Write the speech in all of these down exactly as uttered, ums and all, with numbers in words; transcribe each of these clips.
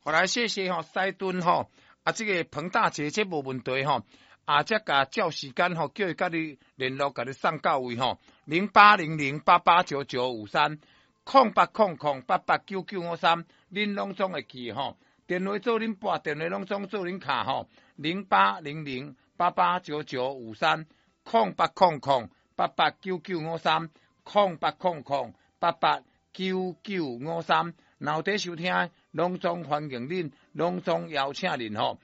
好來，謝謝吼，西頓吼，啊，這个彭大姐這無問題吼，啊，才共照時間吼，叫伊佮你聯絡，共你送到位吼，零八零零八八九九五三，空八空空八八九九五三，恁攏總會記吼，電話做恁撥，電話攏總做恁敲吼，零八零零八八九九五三，空八空空八八九九五三，空八空空八八九九五三，若有佇收聽，攏總歡迎恁，攏總邀請恁吼。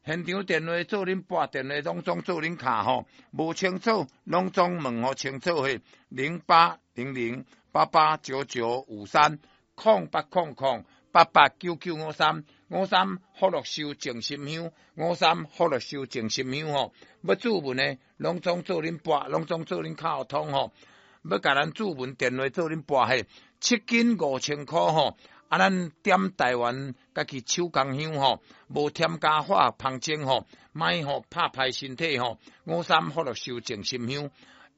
現場電話做恁撥，電話攏總做恁敲吼，無清楚攏總問予清楚嘿，零八零零八八九九五三，空八空空八八九九五三，五三福祿壽靜心香，五三福祿壽靜心香吼，欲注文的攏總做恁撥，攏總做恁敲通吼，欲共咱注文電話做恁撥嘿，七斤五千箍吼。啊，咱點台灣家己手工香吼，無添加化學芳精吼，莫吼拍歹身體吼。五三福祿壽靜心香，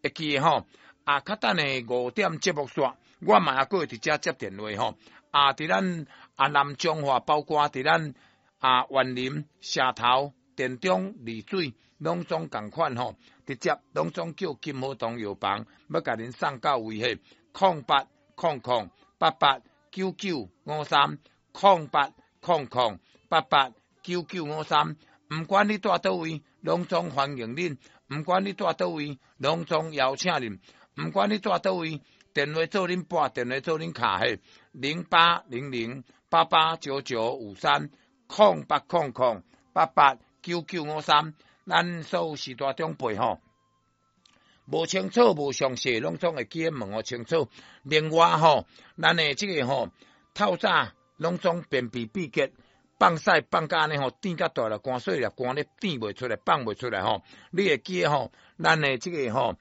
會記吼。啊，較等下五點節目煞，我嘛猶閣會佇遮接電話吼。啊，佇咱啊南彰化，包括佇咱啊員林、社頭、田中、麗水，攏總仝款吼，直接攏總叫金和堂藥房，欲共恁送到位嘿，空八空空八八九九五三，空八空空八八九九五三，毋管你蹛佗位，攏總歡迎恁；毋管你蹛佗位，攏總邀請恁；毋管你蹛佗位，電話做恁撥，電話做恁敲嘿，零八零零八八九九五三，空八空空八八九九五三，咱所有序大長輩吼，無清楚、無詳細，攏總會記得問予清楚。另外吼，咱的這个吼，透早攏總便秘秘結，放屎放甲按呢吼，甜甲大粒，肝細粒，肝咧甜袂出來，放袂出來吼。你會記得吼，咱的這个吼，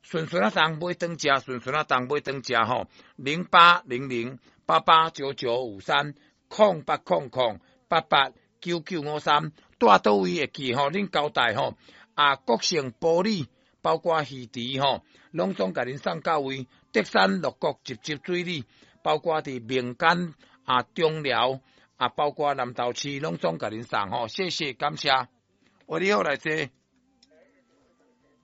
順順仔重買轉食，順順仔重買轉食吼，零八零零八八九九五三，空八空空八八九九五三，蹛佗位會記吼，恁交代吼，啊，國姓埔里，包括魚池吼，攏總共恁送到位。竹山六股集集水里，包括佇民間啊中寮啊，包括南投市，攏總共恁送吼。謝謝，感謝。我你好來坐。